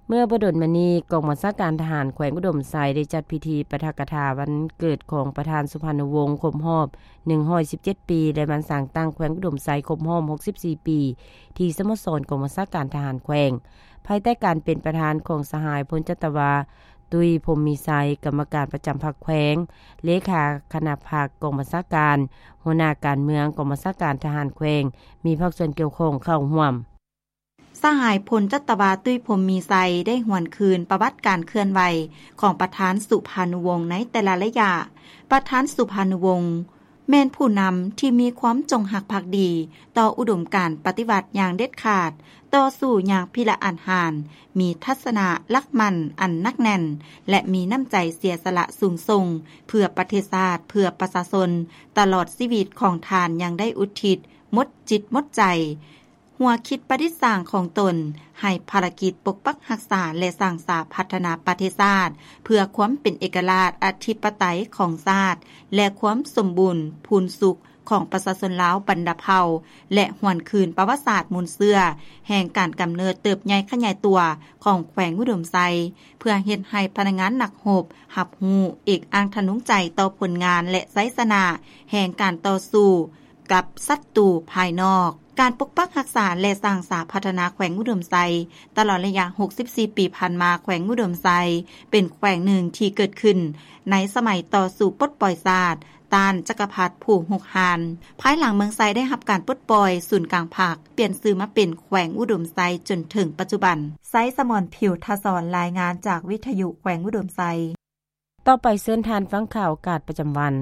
ເມື່ອບໍ່ດົນມານີ້, ກອງບັນຊາການທະຫານແຂວງອຸດົມໄຊ ໄດ້ຈັດພິທີປາຖະກະຖາວັນເກີດຂອງປະທານສຸພານຸວົງ ຄົບຮອບໜຶ່ງຮ້ອຍສິບເຈັດປີ ແລະ ວັນສ້າງຕັ້ງແຂວງອຸດົມໄຊ ຄົບຮອບຫົກສິບສີ່ປີ ທີ່ສະໂມສອນກອງບັນຊາການທະຫານແຂວງ, ພາຍໃຕ້ການເປັນປະທານຂອງສະຫາຍ ພົນຈັດຕະວາ ຕຸ້ຍ ພົມມີໄຊ, ກຳມະການປະຈຳພັກແຂວງ, ເລຂາຄະນະພັກກອງບັນຊາການ, ຫົວໜ້າການເມືອງກອງບັນຊາການທະຫານແຂວງ, ມີພາກສ່ວນກ່ຽວຂ້ອງເຂົ້າຮ່ວມ. ສະຫາຍ ພົນຈັດຕະວາ ຕຸ້ຍ ພົມມີໄຊ ໄດ້ຫວນຄືນປະຫວັດການເຄື່ອນໄຫວຂອງປະທານສຸພານຸວົງໃນແຕ່ລະໄລຍະ. ປະທານສຸພານຸວົງ ແມ່ນຜູ້ນຳທີ່ມີຄວາມຈົງຮັກພັກດີຕໍ່ອຸດົມການປະຕິວັດຢ່າງເດັດຂາດ, ຕໍ່ສູ້ຢ່າງພິລະອາດຫານ, ມີທັດສະນະຫຼັກໝັ້ນອັນໜັກແໜ້ນ ແລະ ມີນ້ຳໃຈເສຍສະຫຼະສູງສົ່ງເພື່ອປະເທດຊາດ, ເພື່ອປະຊາຊົນ. ຕະຫຼອດຊີວິດຂອງທ່ານຍັງໄດ້ອຸທິດໝົດຈິດໝົດໃຈ, ຫົວຄິດປະດິດສ້າງຂອງຕົນໃຫ້ພາລະກິດປົກປັກຮັກສາ ແລະ ສ້າງສາພັດທະນາປະເທດຊາດ ເພື່ອຄວາມເປັນເອກະລາດອະທິປະໄຕຂອງຊາດ ແລະ ຄວາມສົມບູນພູນສຸກຂອງປະຊາຊົນລາວບັນດາເຜົ່າ ແລະ ຫວນຄືນປະຫວັດສາດມູນເຊື້ອແຫ່ງການກຳເນີດເຕີບໃຫຍ່ຂະຫຍາຍຕົວຂອງແຂວງອຸດົມໄຊ, ເພື່ອເຮັດໃຫ້ພະນັກງານນັກຮົບຮັບຮູ້ເອກອ້າງທະນົງໃຈຕໍ່ຜົນງານ ແລະ ໄຊຊະນະແຫ່ງການຕໍ່ສູ້ ກັບສັດຕູພາຍນອກ. ການປົກປັກຮັກສາ ແລະ ສ້າງສາພັດທະນາແຂວງອຸດົມໄຊ ຕະຫຼອດໄລຍະຫົກສິບສີ່ປີຜ່ານມາ, ແຂວງອຸດົມໄຊເປັນແຂວງໜຶ່ງທີ່ເກີດຂຶ້ນໃນສະໄໝຕໍ່ສູ້ປົດປ່ອຍຊາດ ຕ້ານຈັກກະພັດຜູ້ຮຸກຮານ. ພາຍຫຼັງເມືອງໄຊໄດ້ຮັບການປົດປ່ອຍ, ສູນກາງພັກປ່ຽນຊື່ມາເປັນແຂວງອຸດົມໄຊຈົນເຖິງປັດຈຸບັນ. ໄຊສະໝອນ ຜິວທະສອນ ລາຍງານຈາກວິທະຍຸແຂວງອຸດົມໄຊ. ຕໍ່ໄປເຊີນທ່ານຟັງຂ່າວອາກາດປະຈຳວັນ.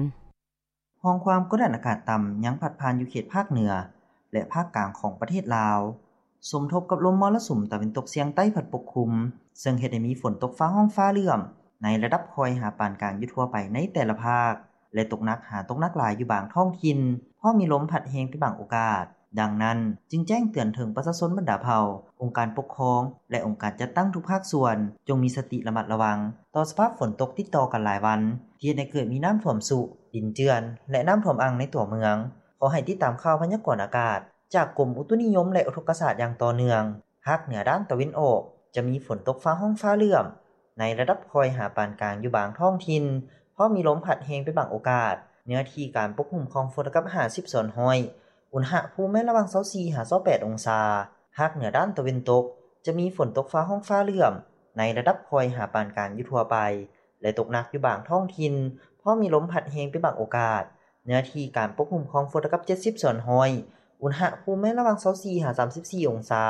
ຮ່ອງຄວາມກົດດັນອາກາດຕ່ຳຍັງພັດຜ່ານຢູ່ເຂດພາກເໜືອ ແລະ ພາກກາງຂອງປະເທດລາວ, ສົມທົບກັບລົມມໍລະສຸມຕາເວັນຕົກສຽງໃຕ້ພັດປົກຄຸມ, ເຊິ່ງເຮັດໃຫ້ມີຝົນຕົກຟ້າຮ້ອງຟ້າເຫຼື້ອມໃນລະດັບຄ່ອຍຫາປານກາງຢູ່ທົ່ວໄປໃນແຕ່ລະພາກ ແລະ ຕົກໜັກຫາຕົກໜັກຫຼາຍຢູ່ບາງທ້ອງຖິ່ນ, ພ້ອມມີລົມພັດແຮງເປັນບາງໂອກາດ. ດັ່ງນັ້ນ, ຈຶ່ງແຈ້ງເຕືອນເຖິງປະຊາຊົນບັນດາເຜົ່າ, ອົງການປົກຄອງ ແລະ ອົງການຈັດຕັ້ງທຸກພາກສ່ວນ ຈົ່ງມີສະຕິລະມັດລະວັງຕໍ່ສະພາບຝົນຕົກຕິດຕໍ່ກັນຫຼາຍວັນ ທີ່ເຮັດໃຫ້ເກີດມີນ້ຳຖ້ວມຊຸ, ດິນເຈື່ອນ ແລະ ນ້ຳຖ້ວມອັ່ງໃນຕົວເມືອງ. ຂໍໃຫ້ຕິດຕາມຂ່າວພະຍາກອນອາກາດຈາກກົມອຸຕຸນິຍົມ ແລະ ອຸທົກກະສາດຢ່າງຕໍ່ເນື່ອງ. ພາກເໜືອດ້ານຕາເວັນອອກ ຈະມີຝົນຕົກຟ້າຮ້ອງຟ້າເຫຼື້ອມໃນລະດັບຄ່ອຍຫາປານກາງຢູ່ບາງທ້ອງຖິ່ນ, ພ້ອມມີລົມພັດແຮງເປັນບາງໂອກາດ. ເນື້ອທີ່ການປົກຄຸມຂອງຝົນລະດັບຫ້າສິບສ່ວນຮ້ອຍ, ອຸນຫະພູມແມ່ນລະຫວ່າງຊາວສີ່ຫາຊາວແປດອົງສາ. ພາກເໜືອດ້ານຕາເວັນຕົກ ຈະມີຝົນຕົກຟ້າຮ້ອງຟ້າເຫຼື້ອມໃນລະດັບຄ່ອຍຫາປານກາງຢູ່ທົ່ວໄປ ແລະ ຕົກໜັກຢູ່ບາງທ້ອງຖິ່ນ, ພ້ອມມີລົມພັດແຮງເປັນບາງໂອກາດ. ເນື້ອທີ່ການປົກຄຸມຂອງຝົນລະດັບເຈັດສິບສ່ວນຮ້ອຍ, ອຸນຫະພູມແມ່ນລະຫວ່າງຊາວສີ່ຫາສາມສິບສີ່ອົງສາ.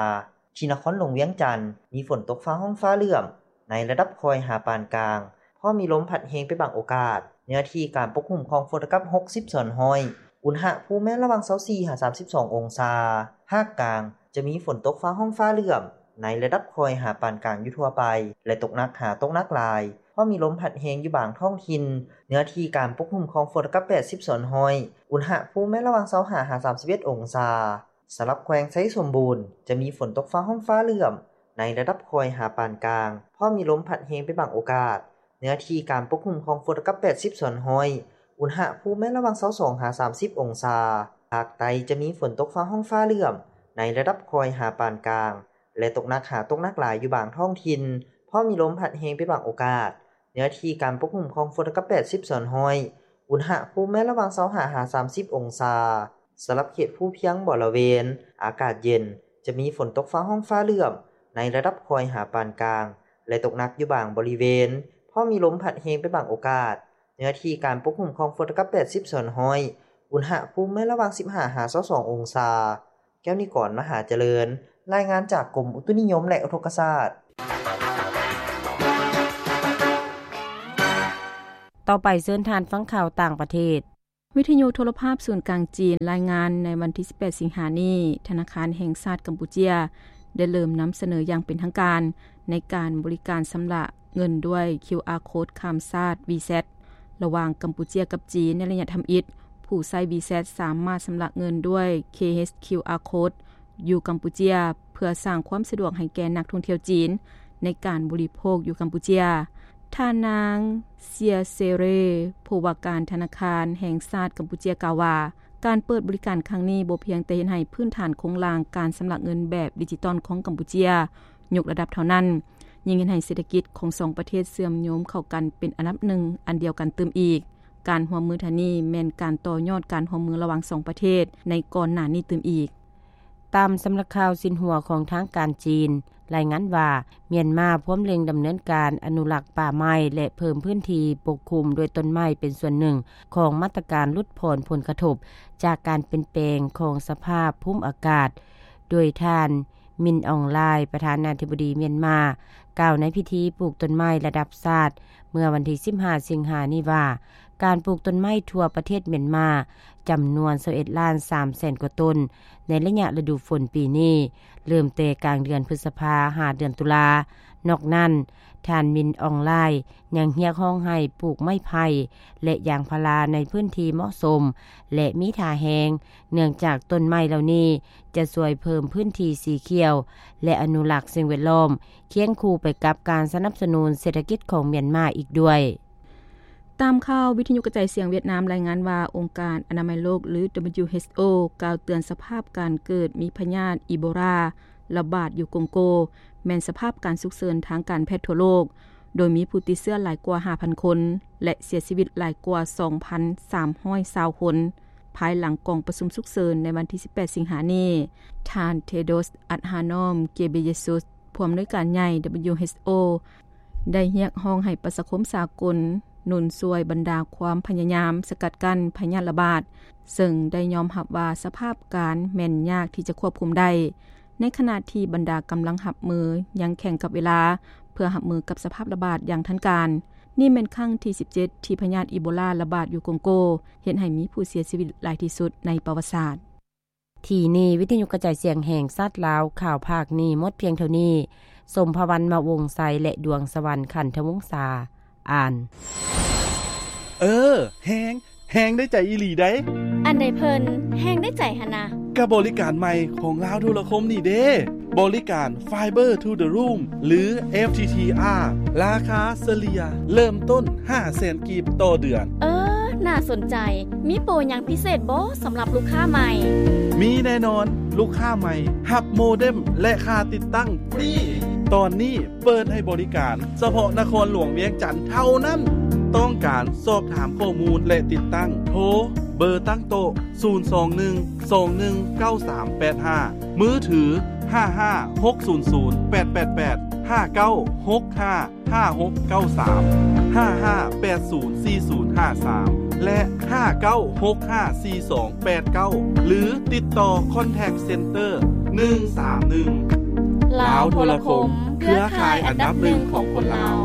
ທີ່ນະຄອນຫຼວງວຽງຈັນ ມີຝົນຕົກຟ້າຮ້ອງຟ້າເຫຼື້ອມໃນລະດັບຄ່ອຍຫາປານກາງ, ພ້ອມມີລົມພັດແຮງເປັນບາງໂອກາດ. ເນື້ອທີ່ການປົກຄຸມຂອງຝົນລະດັບຫົກສິບສ່ວນຮ້ອຍ, ອຸນຫະພູມແມ່ນລະຫວ່າງຊາວສີ່ຫາສາມສິບສອງອົງສາ. ພາກກາງ ຈະມີຝົນຕົກຟ້າຮ້ອງຟ້າເຫຼື້ອມໃນລະດັບຄ່ອຍຫາປານກາງຢູ່ທົ່ວໄປ ແລະ ຕົກໜັກຫາຕົກໜັກຫຼາຍ, ພ້ອມມີລົມພັດແຮງຢູ່ບາງທ້ອງຖິ່ນ. ເນື້ອທີ່ການປົກຄຸມຂອງຝົນລະດັບແປດສິບສ່ວນຮ້ອຍ, ອຸນຫະພູມແມ່ນລະຫວ່າງຊາວຫ້າຫາສາມສິບເອັດອົງສາ. ສຳລັບແຂວງໄຊສົມບູນ ຈະມີຝົນຕົກຟ້າຮ້ອງຟ້າເຫຼື້ອມໃນລະດັບຄ່ອຍຫາປານກາງ, ພ້ອມມີລົມພັດແຮງເປັນບາງໂອກາດ. ເນື້ອທີ່ການປົກຄຸມຂອງຝົນລະດັບແປດສິບສ່ວນຮ້ອຍ, ອຸນຫະພູມແມ່ນລະຫວ່າງຊາວສອງຫາສາມສິບອົງສາ. ພາກໃຕ້ຈະມີຝົນຕົກຟ້າຮ້ອງຟ້າເຫຼື້ອມໃນລະດັບຄ່ອຍຫາປານກາງ ແລະ ຕົກໜັກຫາຕົກໜັກຫຼາຍຢູ່ບາງທ້ອງຖິ່ນ, ພ້ອມມີລົມພັດແຮງເປັນບາງໂອກາດ. ເນື້ອທີ່ການປົກຄຸມຂອງຝົນລະດັບແປດສິບສ່ວນຮ້ອຍ, ອຸນຫະພູມແມ່ນລະຫວ່າງຊາວຫ້າຫາສາມສິບອົງສາ. ສຳລັບເຂດພູພຽງບໍລະເວນ ອາກາດເຢັນ, ຈະມີຝົນຕົກຟ້າຮ້ອງຟ້າເຫຼື້ອມໃນລະດັບຄ່ອຍຫາປານກາງ ແລະ ຕົກໜັກຢູ່ບາງບໍລິເວນ, ພ້ອມມີລົມພັດແຮງເປັນບາງໂອກາດ. ເນື້ອທີ່ການປົກຄຸມຂອງຝົນເທົ່າກັບແປດສິບສ່ວນຮ້ອຍ, ອຸນຫະພູມແມ່ນລະຫວ່າງສິບຫ້າຫາຊາວສອງອົງສາ. ແກ້ວນິກອນ ມະຫາຈະເລີນ ລາຍງານຈາກກົມອຸຕຸນິຍົມ ແລະ ອຸທົກກະສາດ. ຕໍ່ໄປເຊີນທ່ານຟັງຂ່າວຕ່າງປະເທດ. ວິທະຍຸໂທລະພາບສູນກາງຈີນລາຍງານໃນວັນທີສິບແປດສິງຫານີ້, ທະນາຄານແຫ່ງຊາດກຳປູເຈຍໄດ້ເລີ່ມນຳສະເໜີຢ່າງເປັນທາງການໃນການບໍລິການຊຳລະເງິນດ້ວຍຄິວອາໂຄດຂ້າມຊາດ WeChat ລະຫວ່າງກຳປູເຈຍກັບຈີນໃນໄລຍະທຳອິດ. ຜູ້ໃຊ້ WeChat ສາມາດຊຳລະເງິນດ້ວຍ KHQR Code ຢູ່ກຳປູເຈຍ ເພື່ອສ້າງຄວາມສະດວກໃຫ້ແກ່ນັກທ່ອງທ່ຽວຈີນໃນການບໍລິໂພກຢູ່ກຳປູເຈຍ. ທ່ານນາງ ເຊຍ ເຊເຣ ຜູ້ວ່າການທະນາຄານແຫ່ງຊາດກຳປູເຈຍກ່າວວ່າ, ການເປີດບໍລິການຄັ້ງນີ້ບໍ່ພຽງແຕ່ເຮັດໃຫ້ພື້ນຖານໂຄງລ່າງການຊຳລະເງິນແບບດິຈິຕອນຂອງກຳປູເຈຍຍົກລະດັບເທົ່ານັ້ນ, ຍັງເຮັດໃຫ້ເສດຖະກິດຂອງສອງປະເທດເຊື່ອມໂຍງເຂົ້າກັນເປັນອັນດັບໜຶ່ງອັນດຽວກັນຕື່ມອີກ. ການຮ່ວມມືເທື່ອນີ້ແມ່ນການຕໍ່ຍອດການຮ່ວມມືລະຫວ່າງສອງປະເທດໃນກ່ອນໜ້ານີ້ຕື່ມອີກ. ຕາມສຳນັກຂ່າວຊິນຫົວຂອງທາງການຈີນ ລາຍງານວ່າ ມຽນມາພວມເລັ່ງດຳເນີນການອະນຸລັກປ່າໄມ້ ແລະ ເພີ່ມພື້ນທີ່ປົກຄຸມດ້ວຍຕົ້ນໄມ້ເປັນສ່ວນໜຶ່ງຂອງມາດຕະການຫຼຸດຜ່ອນຜົນກະທົບຈາກການປ່ຽນແປງຂອງສະພາບພູມອາກາດ, ໂດຍທ່ານ ມິນ ອອງ ລາຍ ປະທານາທິບໍດີມຽນມາ ກ່າວໃນພິທີປູກຕົ້ນໄມ້ລະດັບຊາດເມື່ອວັນທີສິບຫ້າສິງຫານີ້ວ່າ, ການປູກຕົ້ນໄມ້ທົ່ວປະເທດມຽນມາຈຳນວນຊາວເອັດລ້ານສາມແສນກວ່າຕົ້ນ ໃນໄລຍະລະດູຝົນປີນີ້ ເລີ່ມແຕ່ກາງເດືອນພຶດສະພາ ຫາເດືອນຕຸລາ. ນອກນັ້ນ, ທ່ານ ມິນ ອອງ ລາຍ ຍັງຮຽກຮ້ອງໃຫ້ປູກໄມ້ໄຜ່ ແລະ ຢາງພາລາໃນພື້ນທີ່ເໝາະສົມ ແລະ ມີທ່າແຮງ, ເນື່ອງຈາກຕົ້ນໄມ້ເຫຼົ່ານີ້ຈະຊ່ວຍເພີ່ມພື້ນທີ່ສີຂຽວ ແລະ ອະນຸລັກສິ່ງແວດລ້ອມ ຄຽງຄູ່ໄປກັບການສະໜັບສະໜູນເສດຖະກິດຂອງມຽນມາອີກດ້ວຍ. ຕາມຂ່າວ, ວິທະຍຸກະຈາຍສຽງຫວຽດນາມລາຍງານວ່າ ອົງການອະນາໄມໂລກ ຫຼື WHO ກ່າວເຕືອນສະພາບການເກີດມີພະຍາດອີໂບລາລະບາດຢູ່ກົງໂກ ແມ່ນສະພາບການສຸກເສີນທາງການແພດທົ່ວໂລກ, ໂດຍມີຜູ້ຕິດເຊື້ອຫຼາຍກວ່າຫ້າພັນຄົນ ແລະ ເສຍຊີວິດຫຼາຍກວ່າສອງພັນສາມຮ້ອຍຊາວຄົນ ພາຍຫຼັງກອງປະຊຸມສຸກເສີນໃນວັນທີສິບແປດສິງຫານີ້. ທ່ານ ເທໂດຣສ໌ ອັດຮານອມ ເກເບເຢຊຸສ ຜູ້ອຳນວຍການໃຫຍ່ WHO ໄດ້ຮຽກຮ້ອງໃຫ້ປະຊາຄົມສາກົນໜູນຊ່ວຍບັນດາຄວາມພະຍາຍາມສະກັດກັ້ນພະຍາດລະບາດ, ເຊິ່ງໄດ້ຍອມຮັບວ່າສະພາບການແມ່ນຍາກທີ່ຈະຄວບຄຸມໄດ້, ໃນຂະນະທີ່ບັນດາກຳລັງຮັບມືຍັງແຂ່ງກັບເວລາ ເພື່ອຮັບມືກັບສະພາບລະບາດຢ່າງທັນການ. ນີ້ແມ່ນຄັ້ງທີສິບເຈັດ ທີ່ພະຍາດອີໂບລາລະບາດຢູ່ກົງໂກ, ເຮັດໃຫ້ມີຜູ້ເສຍຊີວິດຫຼາຍທີ່ສຸດໃນປະຫວັດສາດ. ທີ່ນີ້ ວິທະຍຸກະຈາຍສຽງແຫ່ງຊາດລາວ ຂ່າວພາກນີ້ໝົດພຽງເທົ່ານີ້. ສົມພະວັນ ມະວົງໄຊ ແລະ ດວງສະຫວັນ ຂັນທະວົງສາ ອ່ານ. ເອີ ແຮງ ແຮງໄດ້ໃຈອີ່ຫຼີໃດ໋. ອັນໃດເພິ່ນແຮງໄດ້ໃຈຫັ້ນນະ? ກະບໍລິການໃໝ່ຂອງລາວໂທລະຄົມນີ້ເດ້. ບໍລິການ Fiber to the Room ຫຼື FTTR ລາຄາສະເລ່ຍເລີ່ມຕົ້ນຫ້າແສນກີບຕໍ່ເດືອນ. ເອີ ໜ້າສົນໃຈ. ມີໂປຫຍັງພິເສດບໍ່ສຳລັບລູກຄ້າໃໝ່? ມີແນ່ນອນ, ລູກຄ້າໃໝ່ຮັບໂມເດັມ ແລະ ຄ່າຕິດຕັ້ງຟຣີ. ຕອນນີ້ເປີດໃຫ້ບໍລິການສະເພາະນະຄອນຫຼວງວຽງຈັນເທົ່ານັ້ນ. ຕ້ອງການສອບຖາມຂໍ້ມູນ ແລະ ຕິດຕັ້ງ, ໂທເບີຕັ້ງໂຕະ ສູນສອງໜຶ່ງ ສອງໜຶ່ງ ເກົ້າສາມແປດຫ້າ, ມືຖື ຫ້າຫ້າຫົກສູນສູນແປດແປດແປດ, ຫ້າເກົ້າຫົກຫ້າຫ້າຫົກເກົ້າສາມ, ຫ້າຫ້າແປດສູນສີ່ສູນຫ້າສາມ ແລະ ຫ້າເກົ້າຫົກຫ້າສີ່ສອງແປດເກົ້າ ຫຼື ຕິດຕໍ່ Contact Center ໜຶ່ງສາມໜຶ່ງ. ລາວໂທລະຄົມ, ເຄືອຂ່າຍອັນດັບໜຶ່ງຂອງຄົນລາວ.